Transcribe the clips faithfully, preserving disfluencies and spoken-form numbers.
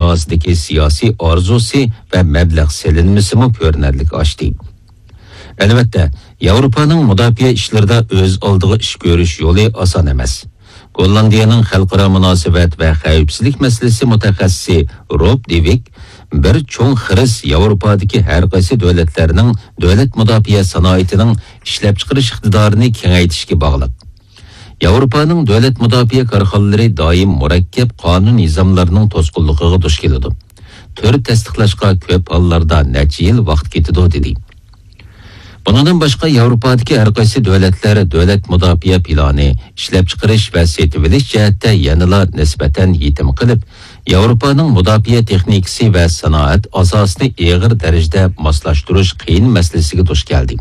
ئاساسىدىكى سىياسىي ئارزۇسى ۋە مەبلەغ سېلىنمىسىمۇ كۆرۈنەرلىك ئاشتى. ئەلۋەتتە، ياۋروپانىڭ مۇداپىئە ئىشلىرىدا ئۆز ئالدىغا ئىش كۆرۈش يولى ئاسان ئەمەس. گوللاندىيەنىڭ خەلقئارا مۇناسىۋەت ۋە خەۋپسىزلىك مەسىلىسى مۇتەخەسسىسى روب دېۋىك بىر چوڭ خىرىس ياۋروپادىكى ھەر قايسى دۆلەتلەرنىڭ دۆلەت مۇداپىئە سانائىتىنىڭ ئىشلەپچىقىرىش ئىقتىدارىنى كېڭەيتىشكە باغلىق. ياۋروپانىڭ دۆلەت مۇداپىئە كارخانىلىرى دائىم مۇرەككەپ قانۇن نىزاملارنىڭ توسقۇنلۇقىغا دۇچ كېلىدۇ. تۈر تەستىقلاشقا كۆپ ھاللاردا نەچچە يىل ۋاقىت كېتىدۇ، دېدى. بۇنىڭدىن باشقا، ياۋروپادىكى ھەر قايسى دۆلەتلەر دۆلەت مۇداپىئە پىلانى، ئىشلەپچىقىرىش ۋە سېتىۋېلىش جەھەتتە يەنىلا نىسبەتەن يېتىم قېلىپ، ياۋروپانىڭ مۇداپىئە تېخنىكىسى ۋە سانائەت ئاساسىنى ئېغىر دەرىجىدە ماسلاشتۇرۇش قىيىن مەسىلىسىگە دۇچ كەلدى.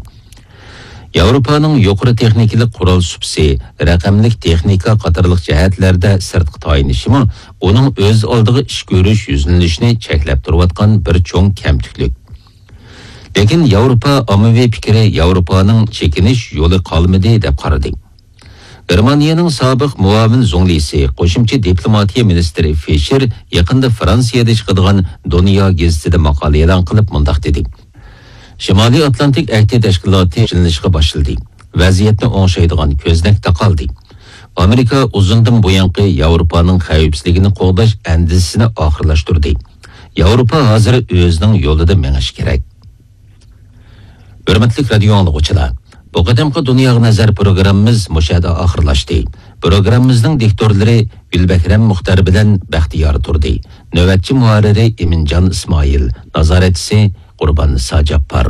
ياۋروپانىڭ يۇقىرى تېخنىكىلىق قورال سۇپىسى، رەقەملىك تېخنىكا قاتارلىق جەھەتلەردە سىرتقا تايىنىشىمۇ ئۇنىڭ ئۆز ئالدىغا ئىش كۆرۈش يۈزلىنىشىنى چەكلەپ تۇرۇۋاتقان بىر چوڭ كەمتۈكلۈك. لېكىن ياۋروپا ئاممىۋى پىكرى ياۋروپانىڭ چېكىنىش يولى قالمىدى، دەپ قارىدى. گېرمانىيەنىڭ سابىق مۇئاۋىن زۇڭلىسى، قوشۇمچە دىپلوماتىيە مىنىستىرى فىشېر يېقىندا فرانسىيەدە چىقىدىغان دۇنيا گېزىتىدە ماقالە ئېلان قىلىپ مۇنداق دېدى: شىمالىي ئاتلانتىك ئەھدى تەشكىلاتى يۈزلىنىشقا باشلىدى. ۋەزىيەتنى ئوڭشايدىغان كۆزنەك تاقالدى. ئامېرىكا ئۇزۇندىن بۇيانقى ياۋروپانىڭ خەۋپسىزلىكىنى قوغداش ئەندىزىسىنى ئاخىرلاشتۇردى. ياۋروپا ھازىر ئۆزىنىڭ يولىدا مېڭىشى كېرەك. ھۆرمەتلىك رادىيو ئاڭلىغۇچىلار، بۇ قېتىمقى دۇنياغا نەزەر پروگراممىمىز مۇشۇ يەردە ئاخىرلاشتى. پروگراممىمىزنىڭ دىكتورلىرى گۈلبەھرەم مۇختەر بىلەن بەختىيار تۇردى. نۆۋەتچى مۇھەررىرى ئىمىنجان ئىسمائىل، نازارەتچىسى قۇرباننىسا جاپپار.